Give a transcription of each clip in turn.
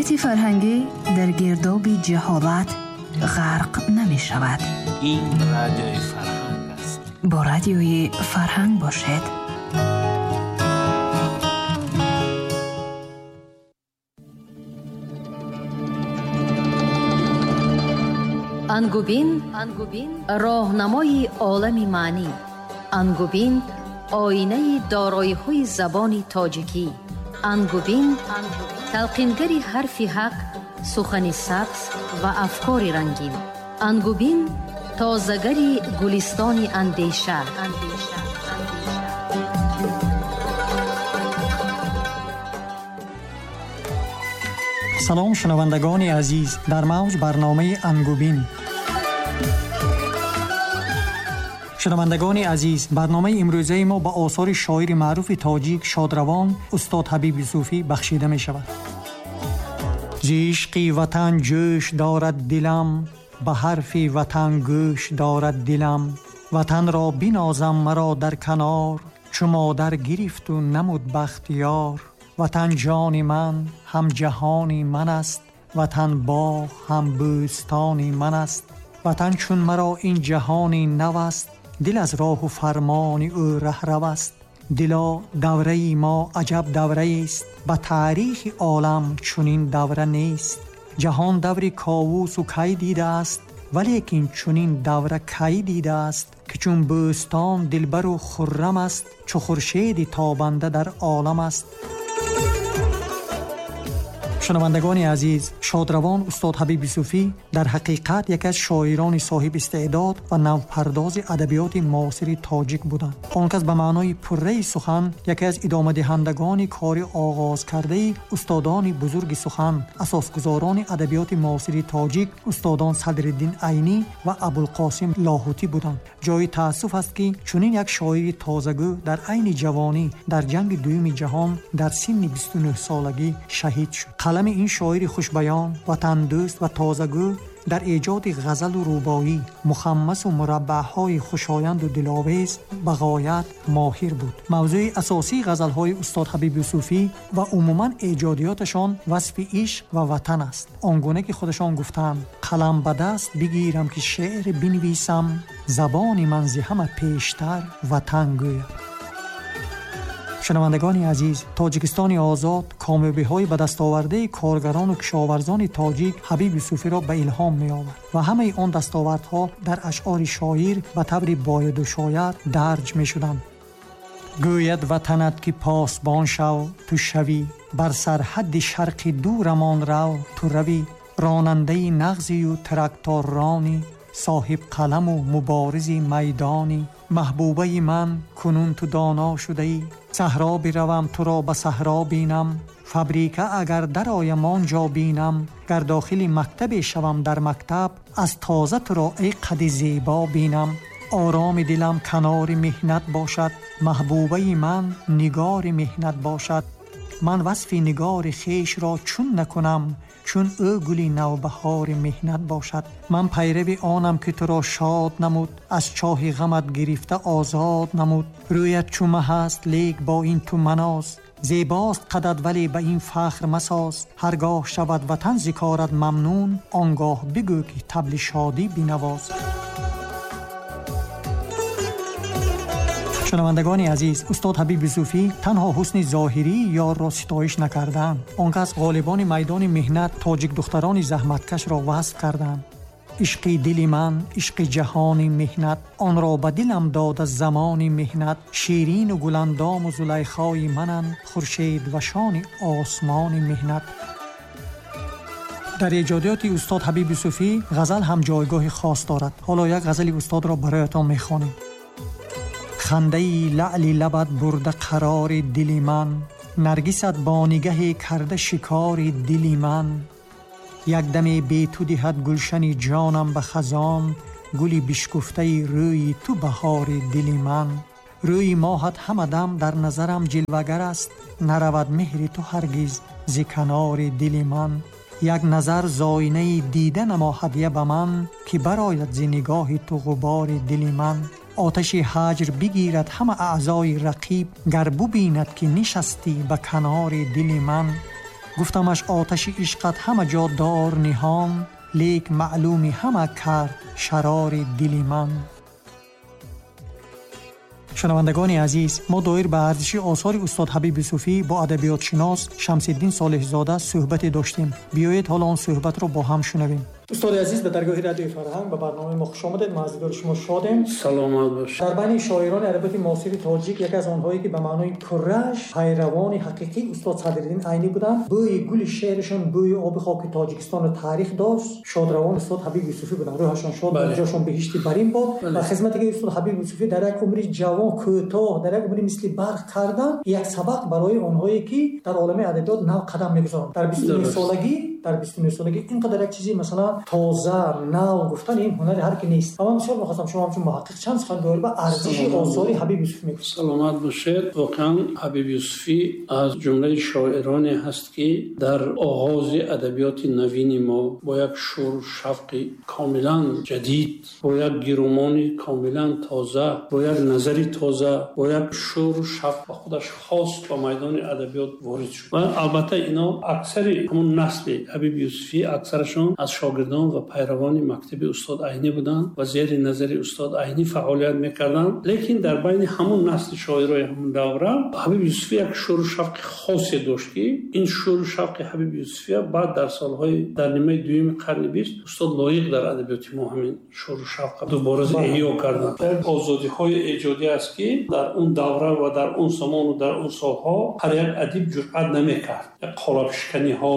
Фаъолияти фарҳангӣ дар гирдоби ҷаҳолат ғарқ намешавад. Ин Радиои Фарҳанг аст. Бо Радиои Фарҳанг бошед. Ангубин роҳнамои олами маънӣ. Ангубин оинаи дороиҳои забони тоҷикӣ. Ангубин талқингари ҳарфи ҳақ, сухани сабз ва афкори рангин. Ангубин тозагари гулистони андеша. Салом, шунавандагони азиз, дар мавҷ барномаи Ангубин. Шунавандагони азиз, барномаи имрӯзаи мо ба осори шоири маъруфи тоҷик шодравон устод Ҳабиб Юсуфӣ бахшида мешавад. Зи ишқи ватан ҷӯш дорад дилам, ба ҳарфи ватан гӯш дорад дилам. Ватанро бинозам маро дар канор, чу модар гирифту намуд бахтиёр. Ватан ҷони ман, ҳам ҷаҳони ман аст, ватан боғ, ҳам бӯстони ман аст. Ватан чун маро ин ҷаҳони нав аст, дил аз роҳу фармони ӯ раҳрав аст. Дило давраи мо аҷаб давраест, ба таърихи олам чунин давра нест. Ҷаҳон даври ковусу кай дидааст, валекин чунин давра кай дидааст, ки чун бӯстон дилбару хуррам аст, чу хуршеди тобанда дар олам аст. Шунавандагони азиз, шодравон устод Ҳабиб Юсуфӣ дар ҳақиқат яке аз шоирони соҳиби истеъдод ва навпардози адабиёти муосири тоҷик буданд. Он кас ба маънои пурраи сухан яке аз идомадиҳандагони кори оғозкардаи устодони бузурги сухан, асосгузорони адабиёти муосири тоҷик устодон Садриддин Айнӣ ва Абулқосим Лоҳутӣ буданд. Ҷои таассуф аст, ки чунин як шоири тозагӯ дар айни ҷавонӣ дар ҷанги дуюми ҷаҳон дар синни 29 солагӣ шаҳид шуд. Қалами ин шоири хушбаён, ватандӯст ва тозагӯ дар эҷоди ғазалу рубоӣ, мухаммасу мураббаъҳои хушоянду диловез ба ғоят моҳир буд. Мавзӯи асосии ғазалҳои устод Ҳабиб Юсуфӣ ва умуман эҷодиёташон васфи ишқ ва ватан аст. Он гуна ки худашон гуфтанд: қалам ба даст бигирам ки шеър бинависам, забони ман зи ҳама пештар ватан гӯяд. Шунавандагони азиз, Тоҷикистони озод комёбиҳои ба дастовардаи коргарону кишоварзони тоҷик Ҳабиб Юсуфиро ба илҳом меовард ва ҳамаи он дастовардҳо дар ашъори шоир ба таври бояду шояд дарҷ мешуданд. Гӯяд ватанат ки посбон шав, ту шавӣ, бар сарҳадди шарқи дурамон рав, ту равӣ, ронандаи нағзию тракторрони, соҳиб қаламу муборизи майдонӣ. Маҳбубаи ман кунун ту доно шудаӣ, саҳро биравам туро ба саҳро бинам, фабрика агар дароям он ҷо бинам, гар дохили мактабе шавам дар мактаб, аз тоза туро эй қади зебо бинам. Ороми дилам канори меҳнат бошад, маҳбубаи ман нигори меҳнат бошад. Ман васфи нигори хешро чун накунам, чун ӯ гули навбаҳори меҳнат бошад. Ман пайрави онам ки туро шод намуд, аз чоҳи ғамат гирифта озод намуд. Рӯят чу маҳ аст, лек бо ин ту маноз, зебост қадат вале ба ин фахр масоз. Ҳаргоҳ шавад ватан зи корат мамнун, он гоҳ бигӯ ки табли шодӣ бинавоз. Шунавандагони азиз, устод Ҳабиб Юсуфӣ танҳо ҳусни зоҳирии ёрро ситоиш накарданд. Он кас ғолибони майдони меҳнат, тоҷикдухтарони заҳматкашро васф карданд. Ишқи дили ман, ишқи ҷаҳони меҳнат, онро ба дилам дода замони меҳнат. Ширину гуландому зулайхои мананд, хуршед ва шони осмони меҳнат. Дар эҷодиёти устод Ҳабиб Юсуфӣ ғазал ҳам ҷойгоҳи хос дорад. Ҳоло як ғазали устодро бароятон мехонем. Хандаи лаъли лабат бурда қарори дили ман, наргисат бо нигаҳе карда шикори дили ман. Як даме бе ту диҳад гулшани ҷонам ба хазон, гули бишкуфтаи рӯи ту баҳори дили ман. Рӯи моҳат ҳама дам дар назарам ҷилвагар аст, наравад меҳри ту ҳаргиз зи канори дили ман. Як назар зоинаи дида намо ҳадя ба ман, ки барояд зи нигоҳи ту ғубори дили ман. Оташи ҳаҷр бигирад ҳама аъзои рақиб, гар бубинад ки нишастӣ ба канори дили ман. Гуфтамаш оташи ишқат ҳама ҷо дор ниҳон, лек маълуми ҳама кард шарори дили ман. Шунавандагони азиз, мо доир ба арзиши осори устод Ҳабиб Юсуфӣ бо адабиётшинос Шамсиддин Солеҳзода суҳбате доштем. Биёед ҳоло он суҳбатро бо ҳам шунавем. Устоди азиз, ба даргоҳи радиои фарҳанг ба барномаи мо хуш омадед. Мо аз дидори шумо шодем. Саломат бошед. Дар байни шоирони адабиёти муосири тоҷик яке аз онҳое ки ба маънои пурраш пайравони ҳақиқии устод Садриддин Айнӣ буданд, бӯи гули шеърашон бӯи оби хоки Тоҷикистонро таърих дошт, шодравон устод Ҳабиб Юсуфӣ буданд. Рӯҳашон шод, ҷошон биҳишти барин бод. Ва хизмате ки устод Ҳабиб Юсуфӣ дар як умри ҷавон кӯтоҳ, дар як умри мисли барқ карданд, як сабақ барои онҳое ки дар олами адабиёт нав қадам мегузоранд. Дар 29 солагӣ, дар 29 солагӣ инқадар як чизи масалан тоза, нав гуфтан ин ҳунари ҳар ки нест. Аммо бисёр мехостам шумо ҳамчун муҳаққиқ чанд сухан доир ба арзиши осори Ҳабиб Юсуфӣ мегуфтед. Саломат бошед. Воқеан Ҳабиб Юсуфӣ аз ҷумлаи шоироне ҳаст ки дар оғози адабиёти навини мо бо як шуру шавқи комилан ҷадид, бо як гирумони комилан тоза, бо як назари тоза, бо як шуру шавқ ба худаш хос ба майдони адабиёт ворид шуд. Ва албатта ино аксари ҳамон насли Ҳабиб Юсуфӣ аксарашон аз шогирдон ва пайравони мактаби устод Айнӣ буданд ва зери назари устод Айнӣ фаъолият мекарданд. Лекин дар байни ҳамон насли шоирои ҳамон давра Ҳабиб Юсуфӣ як шуру шавқи хосе дошт ки ин шуру шавқи Ҳабиб Юсуфӣ баъд дар солҳои дар нимаи дуюми қарни бист устод Лоиқ дар адабиёти мо ҳамин шуру шавқ дубора эҳё карданд. Як озодиҳои эҷодӣ аст ки дар он давра ва дар он замону дар он солҳо ҳар як адиб ҷуръат намекард. Як қолабшиканиҳо,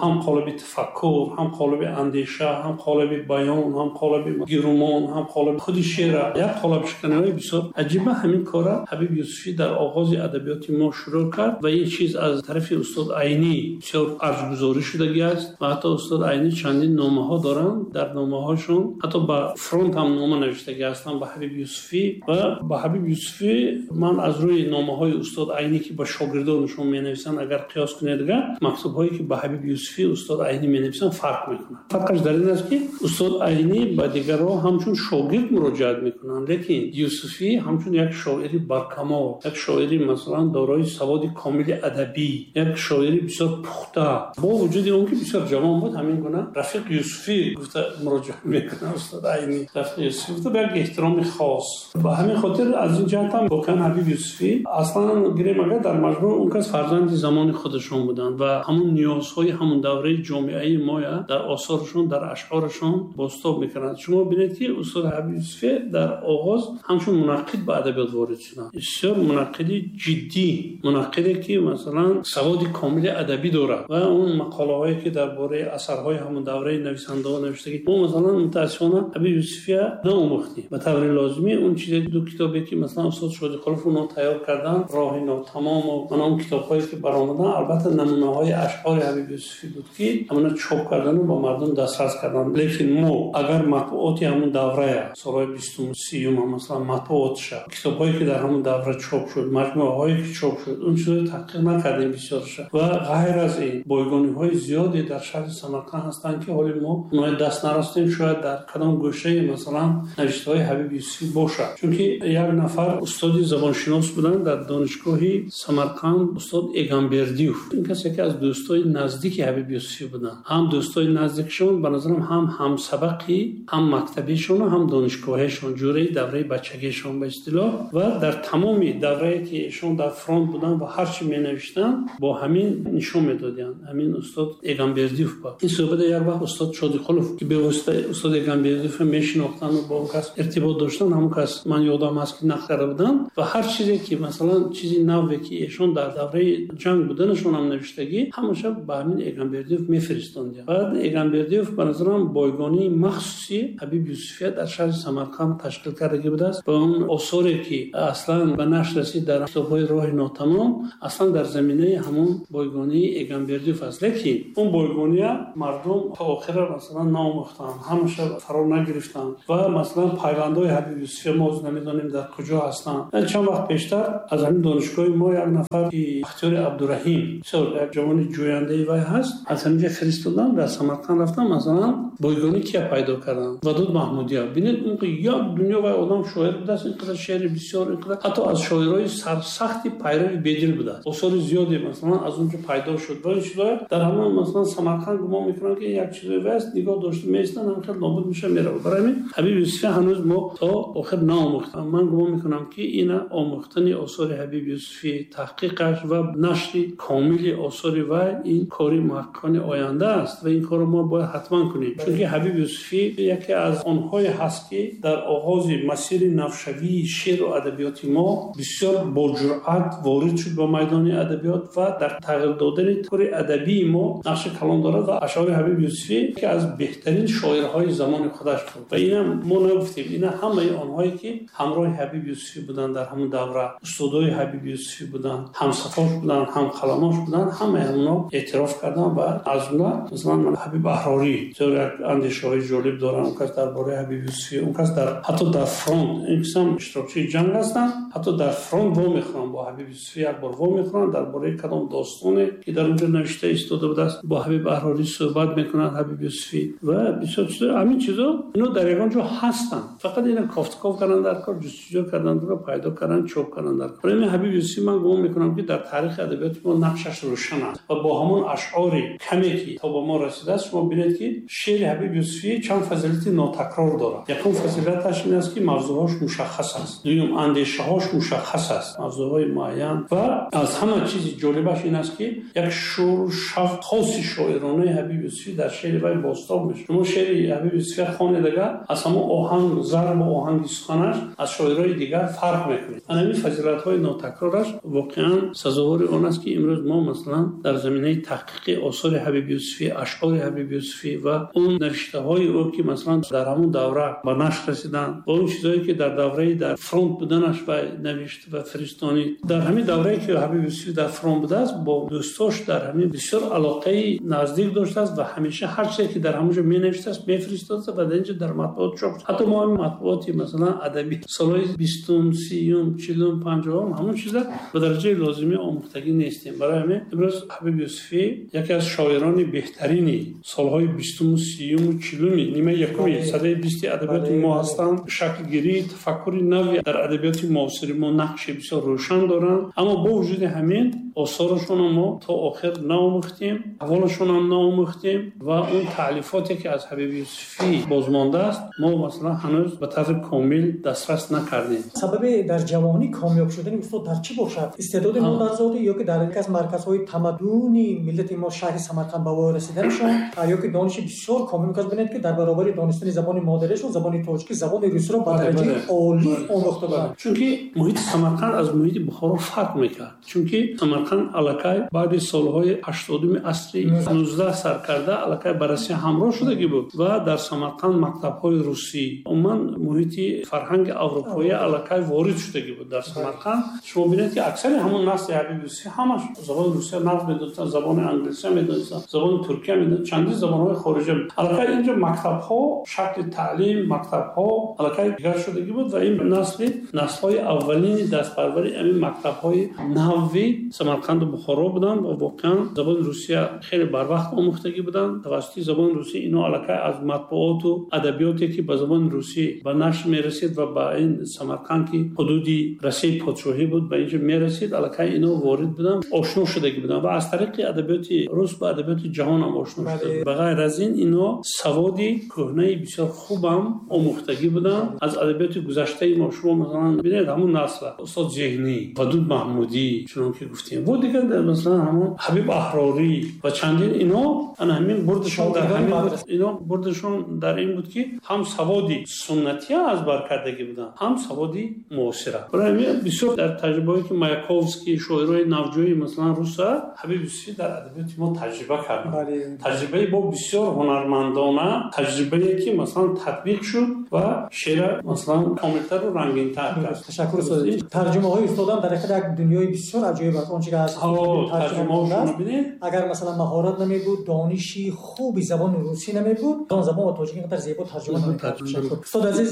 ҳам қолаби тафаккур, ҳам қолаби андеша, ҳам қолаби баён, ҳам қолаби гирумон, ҳам қолаби худи шеъра, як қолабшиканиҳои бисёр аҷиба. Ҳамин кора Ҳабиб Юсуфӣ дар оғози адабиёти мо шурӯъ кард ва ин чиз аз тарафи устод Айнӣ бисёр арҷгузорӣ шудагӣ аст ва ҳатто устод Айнӣ чандин номаҳо доранд. Дар номаҳошон ҳатто ба фронт ҳам нома навиштагӣ ҳастанд ба Ҳабиб Юсуфӣ. Ва ба Ҳабиб Юсуфӣ ман аз рӯи номаҳои устод Айнӣ ки ба шогирдонашон менависанд, агар қиёс кунед, дигар мактубҳое ки ба Ҳабиб Юсуфӣ устод Айнӣ менависанд фарқ мекунад. Фарқаш дар ин аст ки устод Айнӣ ба дигарҳо ҳамчун шогирд муроҷиат мекунанд, лекин Юсуфӣ ҳамчун як шоири баркамол, як шоири масалан дорои саводи комили адабӣ, як шоири бисёр пухта, бо вуҷуди он ки бисёр ҷавон буд, ҳамин гуна рафиқ Юсуфӣ гуфта муроҷиат мекунад устод Айнӣ. Рафиқ Юсуфӣ гуфта ба як эҳтироми хос. Ба ҳамин хотир аз ин ҷиҳат ҳам воқеан Ҳабиб Юсуфӣ аслан гирем агар дар маҷмӯъ он кас фарзанди замони худашон буданд ва ҳамон ниёзҳои ҳамон давраи ҷомеаи моя дар осорашон, дар ашъорашон бозтоб мекунанд. Шумо бинед ки устод Ҳабиб Юсуфӣ дар оғоз ҳамчун мунаққид ба адабиёт ворид шуданд. Бисёр мунаққиди ҷиддӣ, мунаққиде ки масалан саводи комили адабӣ дорад ва он мақолаҳое ки дар бораи асарҳои ҳамон давраи нависандаҳо навиштагӣ, мо масалан мутаассифона Ҳабиб Юсуфия наомӯхтем ба таври лозимӣ. Он чизе ду китобе ки масалан устод Шодиқулов онҳо тайёр карданд, роҳи нотамом ва он китобҳое ки баромаданд, албатта намунаҳои ашъори Ҳабиб Юсуфӣ буд ки ҳамона чоп кардану ба мардум дастрас карданд. Лекин мо агар матбуоти ҳамон даврая солҳои бистум сиюм масалан матбуотша, китобҳое ки дар ҳамон давра чоп шуд, маҷмӯаҳое ки чоп шуд, он чизҳои таҳқиқ накардем бисёрша. Ва ғайр аз ин бойгониҳои зиёде дар шаҳри Самарқанд ҳастанд ки ҳоли мо онҳои даст нарасидем. Шояд дар кадом гӯшаи масалан навиштаҳои Ҳабиб Юсуфӣ бошад, чунки як нафар устоди забоншинос буданд дар донишгоҳи Самарқанд, устод Эгамбердиев. Ин кас яке аз дӯстои наздики Ҳабиб Юсуфӣ буданд. Ҳам дӯстои наздикшон, ба назарам ҳам ҳамсабақи, ҳам мактабишон, ҳам донишгоҳишон, ҷураи давраи бачагишон ба истилоҳ. Ва дар тамоми даврае ки эшон дар фронт буданд ва ҳар чи менавиштанд, бо ҳамин нишон медоданд. Ҳамин устод Эгамбердиев ба ин суҳбата як вақт устод Шодиқулов ки бевосита устод Эгамбердиевро мешинохтанд ва бо он кас иртибот доштанд, ҳамон кас ман ёдам ҳаст ки нақл карда буданд. Ва ҳар чизе ки масалан чизи наве ки эшон дар давраи ҷанг буданашон ҳам навиштагӣ, ҳамаша ба ҳамин Эгамбердиев мефиристонданд. Баъд Эгамбердиев ба назарам бойгонии махсуси Ҳабиб Юсуфия дар шаҳри Самарқанд ташкил кардагӣ будааст ва он осоре ки аслан ба нашр расид дар китобҳои роҳи нотамом, аслан дар заминаи ҳамон бойгонии Эгамбердиев аст. Лекин он бойгония мардум то охира масалан наомӯхтанд, ҳамаша фаро нагирифтанд ва масалан пайвандҳои Ҳабиб Юсуфия мо намедонем дар куҷо ҳастанд. Чанд вақт пештар аз ҳамин донишгоҳи мо як нафар ки Бахтиёри Абдураҳим, бисёр як ҷавони ҷӯяндаи вай ҳаст, аз ҳаминҷа фиристодам, дар Самарқанд рафтам, масалан бойгонӣ кия пайдо кардам? Вадуд Маҳмудия. Бинед, он як дунё вай одам шоир будааст, ин қадар шеъри бисёр, ин қадар ҳатто аз шоирои сарсахти пайрави Бедил будааст. Осори зиёде масалан аз он ҷо пайдо шуд. Ва ин чизҳоя дар ҳамон масалан Самарқанд гумон мекунанд, ки як чизое вай аст, нигоҳ дошта меистанд, ҳам хел нобуд меша, меравад. Барои ҳамин Ҳабиб Юсуфӣ ҳанӯз мо то охир наомӯхтем. Ман гумон мекунам, ки ина омӯхтани осори Ҳабиб Юсуфӣ, таҳқиқаш ва нашри комили осори вай ин кори муҳаққиқони оянда аст ва ин корро мо бояд ҳатман кунем. Чунки Ҳабиб Юсуфӣ яке аз онҳое ҳаст, ки дар оғози масири навшавии шеъру адабиёти мо бисёр бо ҷуръат ворид шуд ба майдони адабиёт ва дар тағйир додани тури адабии мо нақши калон дорад. Ва ашъори Ҳабиб Юсуфӣ яке аз беҳтарин шоирҳои замони худаш буд. Ва инам мо нагуфтем, ина ҳамаи онҳое ки ҳамроҳи Ҳабиб Юсуфӣ буданд дар ҳамон давра, устодои Ҳабиб Юсуфӣ буданд, ҳамсафош буданд, ҳамқаламош буданд, ҳамаи онҳо эътироф карданд. Ва аз ҷумла масалан Ҳабиб Аҳрорӣ бисёр як андешаҳои ҷолиб доранд. Он кас дар бораи Ҳабиб Юсуфӣ, он кас дар ҳатто дар фронт, ин кас ҳам иштирокчии ҷанг ҳастанд, ҳатто дар фронт вомехӯранд бо Ҳабиб Юсуфӣ, як бор вомехӯранд дар бораи кадом достоне ки дар онҷо навишта истода будааст, бо Ҳабиб Аҳрорӣ суҳбат мекунанд Ҳабиб Юсуфӣ. Ва бисёр чизо, ҳамин чизо ино дар ягон ҷо ҳастанд, фақат ина кофтков кардан дар кор, ҷустуҷӯ кардан, пайдо кардан, чоп кардан дар кор. Барои Ҳабиб Юсуфӣ ман гумон мекунам, ки дар таърихи адабиёти мо нақшаш рӯшан аст ва бо ҳамон ашъори каме ки то ба мо расидааст, шумо бинед, ки шеъри Ҳабиб Юсуфӣ чанд фазилати нотакрор дорад. Якум фазилаташ ин аст, ки мавзӯъҳош мушаххас аст, дуюм андешаҳош мушаххас аст, мавзӯъҳои муайян. Ва аз ҳама чизи ҷолибаш ин аст, ки як шӯру шавқ хоси шоиронаи Ҳабиб Юсуфӣ дар шеъри вай бозтоб мешавад. Шумо шеъри Ҳабиб Юсуфӣ хонед, агар аз ҳамон оҳанг, зарбу оҳанги суханаш аз шоирои дигар фарқ мекунед. Ана ҳамин фазилатҳои нотакрораш воқеан сазовори он аст, ки имрӯз мо масалан дар заминаи таҳқиқи осори Ҳабиб Юсуфӣ, ашъори Ҳабиб Юсуфӣ ва он навиштаҳои ӯ, ки масалан дар ҳамон давра ба нашр расиданд, ва он чизҳое ки дар давраи дар фронт буданаш вай навишт ва фиристонид. Дар ҳамин даврае ки Ҳабиб Юсуфӣ дар фронт будааст, бо дӯстош дар ҳамин бисёр алоқаи наздик доштааст ва ҳамеша ҳар чизе ки дар ҳамон ҷо менавиштааст, мефиристодааст ва дар инҷо дар матбуот чоп. Ҳатто мо ҳамин матбуоти масалан адабӣ солҳои 20-ум, 30-ум, 40-ум, 50-ум ҳамон чиза ба дараҷаи лозимӣ омӯхтагӣ нестем. Барои ҳамин имрӯз Ҳабиб Юсуфӣ яке аз шоирони беҳтарини солҳои 20-уму, 30-уму, 40-уми нимаи якуми садаи 20 адабиёти мо ҳастанд. Шаклгирии тафаккури нави дар адабиёти муосири мо нақши бисёр рӯшан доранд. Аммо бо вуҷуди ҳамин осорашонро мо то охир наомӯхтем, аҳволашонам наомӯхтем ва он таълифоте ки аз Ҳабиб Юсуфӣ бозмондааст, мо масалан ҳанӯз ба таври комил дастрас накардем. Сабаби дар ҷавонӣ комёб шудани устод дар чӣ бошад? Истеъдоди модарзодӣ ё ки дар яке аз марказҳои тамаддуни миллати мо шаҳри Самарқанд ба воя расиданашон, ё ки дониши бисёр комил кас бинед, ки дар баробари донистани забони модариашон забони тоҷикӣ, забони русиро ба дараҷаи олӣ омӯхта буданд. Чунки муҳити Самарқанд аз муҳити Бухоро фарқ мекард. Чунки Самарқанд аллакай баъди солҳои 80-уми асри 19 сар карда аллакай ба Россия ҳамроҳ шудагӣ буд ва дар Самарқанд мактабҳои русӣ, умуман муҳити фарҳанги аврупоӣ аллакай ворид шудагӣ буд дар Самарқанд. Шумо бинед, ки аксари ҳамон насли Ҳабиб Юсуфӣ ҳамаш забони русия нағз медонистанд, забони англисия медонистанд, забони туркия медонистанд, чандин забонҳои хориҷа. Аллакай инҷо мактабҳо, шакли таълим, мактабҳо аллакай дигар шудагӣ буд ва ин насли наслҳои аввалини дастпарвари ҳамин мактабҳои нави Самарқанду Бухоро буданд ва воқеан забони русия хеле барвақт омӯхтагӣ буданд. Тавассути забони русӣ ино аллакай аз матбуоту адабиёте ки ба забони русӣ ба нашр мерасид ва ба ин Самарқанд, ки ҳудуди Россияи подшоҳӣ буд, ба инҷо мерасид, аллакай ино ворид буданд, ошно шудагӣ буданд ва аз тариқи адабиёти рус ба адабиёти ҷаҳон ҳам ошно шуда. Ба ғайр аз ин ино саводи кӯҳнаи бисёр хубам омӯхтагӣ буданд аз адабиёти гузаштаи мо. Шумо масалан бинед ҳамон насла устод Зеҳнӣ, Вадуд Маҳмудӣ, чунон ки гуфтем, бо дигар масалан ҳамон Ҳабиб Аҳрорӣ ва чандин ино ана ҳамин бурдашон дар ҳамин буд. Ино бурдашон дар ин буд, ки ҳам саводи суннатия аз бар кардагӣ буданд, ҳам саводи муосира. Барои ҳамин бисёр дар таҷрибаҳое ки Маяковский, шоирои навҷӯи масалан руса, Ҳабиб Юсуфӣ дар адабиёти мо таҷриба карданд. Таҷрибаи бо бисёр ҳунармандона, таҷрибае ки масалан татбиқ шуд ва шеъра масалан комилтару рангинтар кард. Ташаккур, устод. Тарҷумаҳои устодам дар ҳақиқат як дунёи бисёр аҷоиб аст. Он он чӣ аз тарҷума аст, агар масалан маҳорат намебуд, дониши хуби забони русӣ намебуд, он забон ба тоҷикӣ инқадар зебо тарҷума намекард. Устод азиз,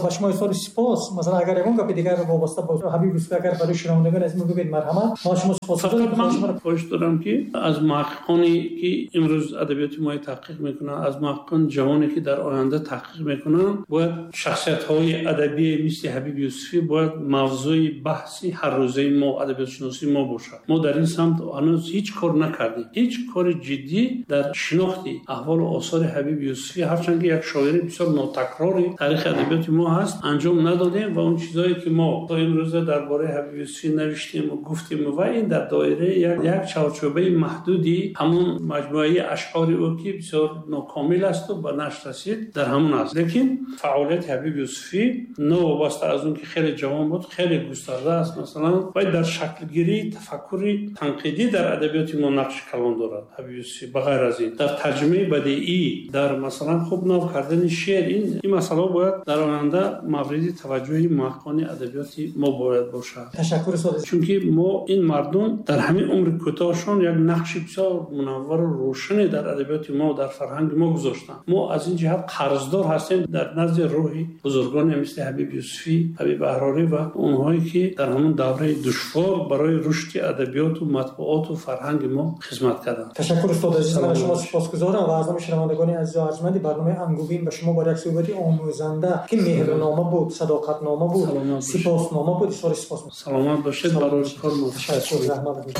ба шумо изҳори сипос. Масалан агар ягон гапи дигар вобаста ба Ҳабиб Юсуфӣ агар барои шунавандагони азиз бигӯед, марҳамат. Мо шумо сипосгузорем. Ман хоҳиш дорам ки аз муҳаққиқоне ки имрӯз адабиёти мо таҳқиқ мекунанд, аз муҳаққиқони ҷавоне ки дар оянда таҳқиқ мекунанд, бояд шахсиятҳои адабӣ мисли Ҳабиб Юсуфӣ бояд мавзӯи баҳси ҳаррӯзаи мо, адабиётшиносии мо бошад. Мо дар ин самт ҳанӯз ҳеҷ кор накардем. Ҳеҷ кори ҷиддӣ дар шинохти аҳволу осори Ҳабиб Юсуфӣ, ҳарчанд ки як шоири бисёр нотакрори таърихи адабиёти мо ҳаст, анҷом надодем ва он чизҳое ки мо то имрӯза дар бораи Ҳабиб Юсуфӣ навиштем ва гуфтем ва ин дар доираи як чорчӯбаи маҳдуди ҳамон маҷмӯаи ашъори ӯ ки бисёр нокомил аст ва ба нашр расид, дар ҳамон аст. Лекин фаъолияти Ҳабиб Юсуфӣ новобаста аз он ки хеле ҷавон буд, хеле густарда аст. Масалан, вай дар шаклгирии тафаккури танқидӣ дар адабиёти мо нақши калон дорад. Ҳабиб Юсуфӣ ба ғайр аз ин дар тарҷумаи бадеӣ, дар масалан хуб нав кардани шеър, ин масъалаҳо бояд дар оянда мавриди таваҷҷӯҳи муҳаққиқони адабиёти мо бояд бошад. Ташаккур устод. Чунки мо ин мардум дар ҳамин умри кӯтоҳшон як нақши бисёр мунаввару рӯшане дар адабиёти мо, дар фарҳанги мо гузоштанд. Мо аз ин ҷиҳат қарздор ҳастем дар назди рӯҳи бузургоне мисли Ҳабиб Юсуфӣ, Ҳабиб Аҳрорӣ ва онҳое ки дар ҳамон давраи душвор барои рушди адабиёту матбуоту фарҳанги мо хизмат карданд. Ташаккур устод азиз, ман аз шумо сипосгузорам ва аз номи шунавандагони азизу арҷманди барномаи Ангубин ба шумо бо як суҳбати омӯзанда ки меҳрнома буд, садоқатнома буд, сипоснома буд, изҳори сипос. Саломат бошед, барои кор муваффақ. Ташаккур, заҳмат бошед.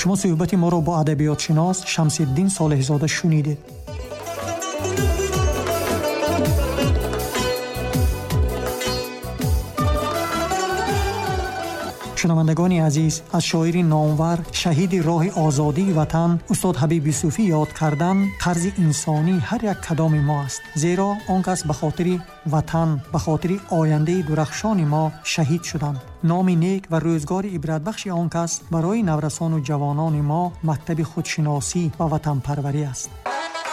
Шумо суҳбати моро бо адабиётшинос Шамсиддин Солеҳзода шунидед. Шунавандагони азиз, аз шоири номвар, шаҳиди роҳи озодии ватан устод Ҳабиб Юсуфӣ ёд кардан қарзи инсонии ҳар як кадоми мо аст, зеро он кас ба хотири ватан, ба хотири ояндаи дурахшони мо шаҳид шуданд. Номи нек ва рӯзгори ибратбахши он кас барои наврасону ҷавонони мо мактаби худшиносӣ ва ватанпарварӣ аст.